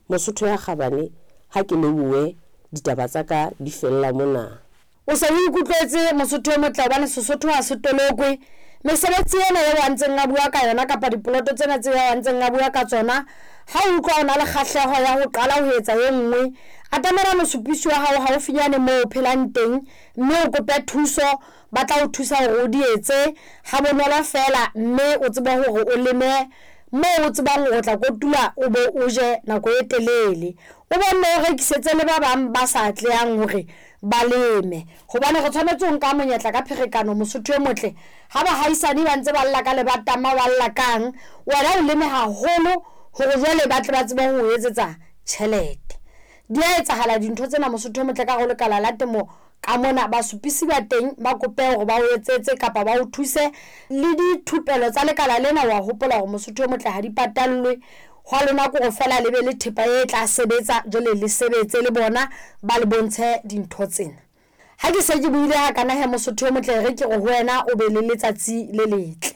Mosotho ya kgabane, ha ke lebohe ditaba tsa ka di fella mona. O se o ikutlwetse Mosotho e motle hobane Sesotho ha se tolokwe. Mesebetsi ena eo a ntseng a bua ka yona kapa dipoloto tsena tseo a ntseng a bua ka tsona, ha o utlwa o na le kgahleho ya ho qala ho etsa e nngwe, atamela mosupisi wa hao haufinyane moo o phelang teng mme o kope thuso. Ba tla o thusa hore o di etse ha bonolo feela mme o tsebe hore o leme moo o tsebang hore o tla kotula o be o je nako e telele. O bo nne o rekisetse le ba bang ba sa atlehang hore ba leme hobane re tshwanetse ho nka monyetla ka pherekano Mosotho e motle. Ha bahaisane ba ntse ba lla ka lebatama ba lla kang, wena o leme haholo hore jwale ba tle ba tsebe ho o etsetsa tjhelete. Di a etsahala dintho tsena Mosotho e motle ka hare ho lekala la temo ka mona. Basupisi ba teng ba kope hore ba o etsetse kapa ba o thuse le dithupelo tsa lekala lena. Wa hopola hore Mosotho e motle ha di patallwe, hwa lona ke hore feela le be le thepa e tla sebetsa jwale le sebetse le bona ba le bontshe dintho tsena. Ha ke se ke buile hakana he Mosotho e motle, e re ke re ho wena o be le letsatsi le letle.